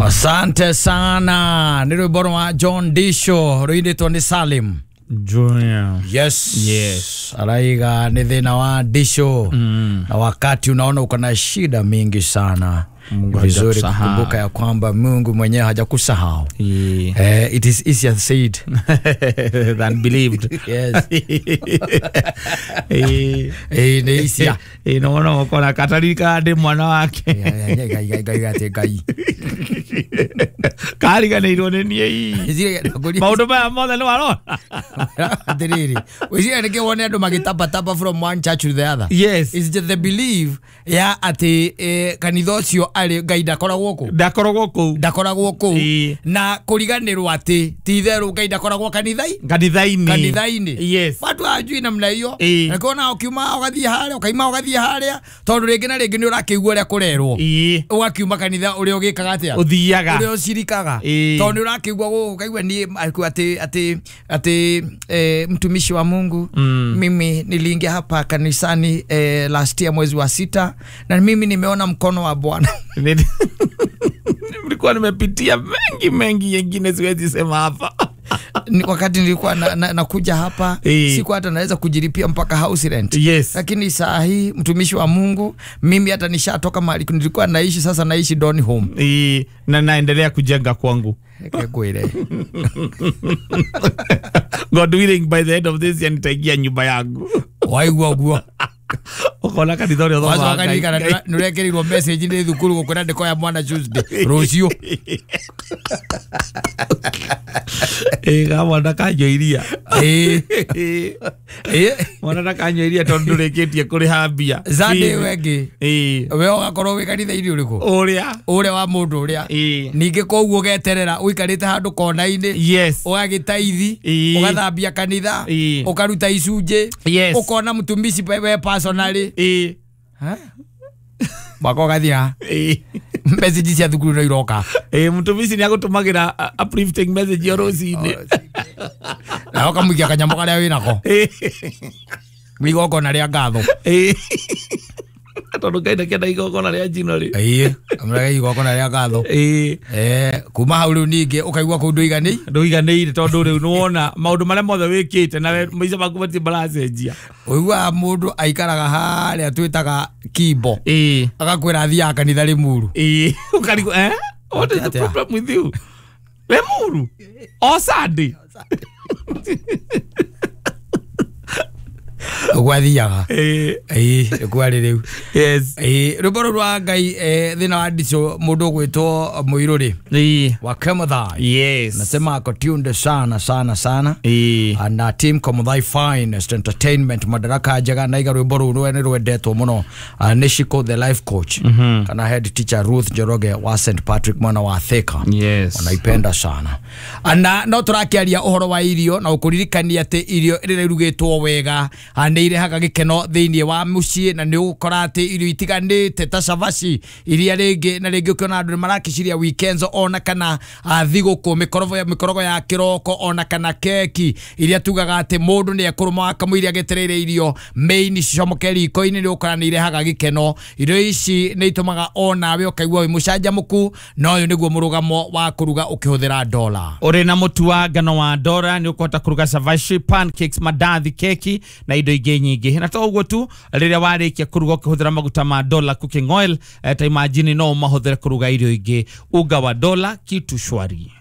Asante sana. Nĩ rwĩmbo rwa John Disho rũinĩtwo nĩ Salim Junior. Yes. Yes. Araiga nĩ thĩna wa Disho. Na wakati unaona uko na shida mingi sana, Mungu vizuri hajakusahau. kukumbuka ya kwamba Mungu mwenyewe hajakusahau. Yeah. It is easier said than believed. Yes. Eh, Nĩ easier. nona ukona katarika ndi mwana wake. Ngai, Ngai, Ngai, Ngai, Ngai. Kariganĩirwo nĩ niĩ ii. Maũndũ maya mothe nĩ warona. Atiriri, wĩciria nĩkĩ wone andũ magĩtabataba from one church to the other? Yes. It's just the belief ya atĩ kanitha ũcio arĩ Ngai ndakoragwo kũ, Ndakoragwo kũu. Ndakoragwo kũu. Ĩĩ. Na kũriganĩrwo atĩ ti itherũ Ngai ndakoragwo kanithai Kanitha-inĩ. Kanitha-inĩ. Yes. Watu hawajui namna hiyo. Ĩĩ. Na kuona ũkiuma ũgathiĩ harĩa, ũkaima ũgathiĩ harĩa, tondũ rĩngĩ na rĩngĩ nĩ ũrakĩigua ũrĩa kũrerwo. Ĩĩ. Ũgakiuma kanitha ũrĩa ũgĩkaga atĩa, Ũthiaga. ũrĩa ũcirikaga. Ĩĩ. Tondũ nĩ ũrakĩigua gũkũ ũkaigua niĩ atĩ mtumishi wa Mungu, mimi niliingia hapa kanisani last year mwezi wa 6 na mimi nimeona mkono wa Bwana. Nilikuwa nimepitia mengi mengi, yengine siwezi sema hapa. Wakati nilikuwa nakuja hapa, sikuwa hata naweza kujilipia mpaka house rent. Yes. Lakini saa hii, mtumishi wa Mungu, mimi hata nishatoka mahali nilikuwa naishi, sasa naishi Don Home. Na naendelea kujenga kwangu. Kwire. God willing, by the end of this year nitaingia nyumba yangu. Waigua ũguo. Ũkona kanitha ũrĩa ũthomaga. Wacoka ririkana nĩũrekĩrirwo message nĩ thukuru gũkwĩra ndĩkoya mwana Tuesday rũciũ. Ĩĩ, ga mwana kanyua iria. Ĩĩ. Ĩĩ. Mwana ndakanyua iria tondũ ndũrĩkĩtie kũrĩha mbia. Sunday wengĩ. Ĩĩ. We ũgakorwo wĩ kanitha-inĩ ũrĩkũ? Ũrĩa. Ũrĩa wa mũndũ ũrĩa. Ĩĩ. Ningĩ koguo ũgeterera ũikarĩte handũ kona-inĩ. Yes. Ũgagĩtaithi. Ĩĩ. Ũgathambia kanitha. Ĩĩ. Ũkaruta icunjĩ. Yes. Ũkona mũtumishi we personally. Ĩĩ. Mwaka ũgathira. Ĩĩ. Message cia thukuru no iroka. Ĩĩ, mũtumishi nĩ agũtũmagĩra uplifting message o rũcinĩ. Na ũkamũikia kanyamũ karĩa wĩnako. Ĩĩ. Igongona rĩa ngatho. Ĩĩ. Tondũ Ngai ndakĩenda igongona rĩa njino rĩ. Ĩĩ, amũrege igongona rĩa ngatho. Ĩĩ. Kuma hau rĩu ningĩ ũkaigua kũu ndũiganĩire. Ndũiganĩire tondũ rĩu nĩwona maũndũ marĩa mothe wĩkĩte na we maica maku matirĩ maracenjia. Ũiguaga mũndũ aikaraga harĩa twĩtaga Kimbo. Ĩĩ. Agakwĩra athiaga kanitha Limuru. Ĩĩ. Ũkarigwo, eh? What is the Atĩa? problem with you? Limuru? O Sunday? Ũguo athiaga. Ĩĩ. Ĩĩ, nĩkuo arĩ rĩu. Yes. Ĩĩ, rwĩmbo rũu rwa Ngai, thĩna wa ndico mũndũ ũgwĩtwo Mũirũrĩ Ĩĩ. wa Kemuthai. Yes. Nasema ako tuned sana sana sana. Ĩĩ. Na team Komuthai Finest Entertainment Madaraka njega na iga rwĩmbo rũu rwe nĩ rwendetwo mũno. Nĩ Shiko the life coach kana head teacher Ruth Njoroge wa St Patrick mwena wa Thika. Yes. Wanaipenda sana. Na no tũrakĩaria ũhoro wa irio na ũkũririkania atĩ irio rĩrĩa irugĩtwo wega nĩ irehaga gĩkeno thĩinĩ wa mũciĩ, na nĩ ũgũkora atĩ irio itiganĩte ta cabaci iria rĩngĩ na rĩngĩ ũkĩona andũ nĩ marakĩciria weekends ona kana thigũkũ, mĩkorogo ya kĩroko ona kana keki iria tugaga atĩ mũndũ nĩ ekũrũma kamũiria agĩetereire irio main cicomoke riko-inĩ, nĩ ũgũkora nĩ irehaga gĩkeno. Irio ici nĩ itũmaga onawe ũkaigua wĩ mũcanjamũku, na ũyũ nĩguo mũrũgamo wa kũruga ũkĩhũthĩra dola. Ũrĩ na mũtu wa ngano wa Dora nĩ ũkũhota kũruga cabaci, pancakes, mandathi, keki na indo ingĩ nyingĩ. Na to ũguo tu, rĩrĩa warĩkia kũruga ũkĩhũthĩra maguta ma Dola cooking oil, ta imagine no ũmahũthĩre kũruga irio ingĩ. Unga wa Dola, kitu shwari.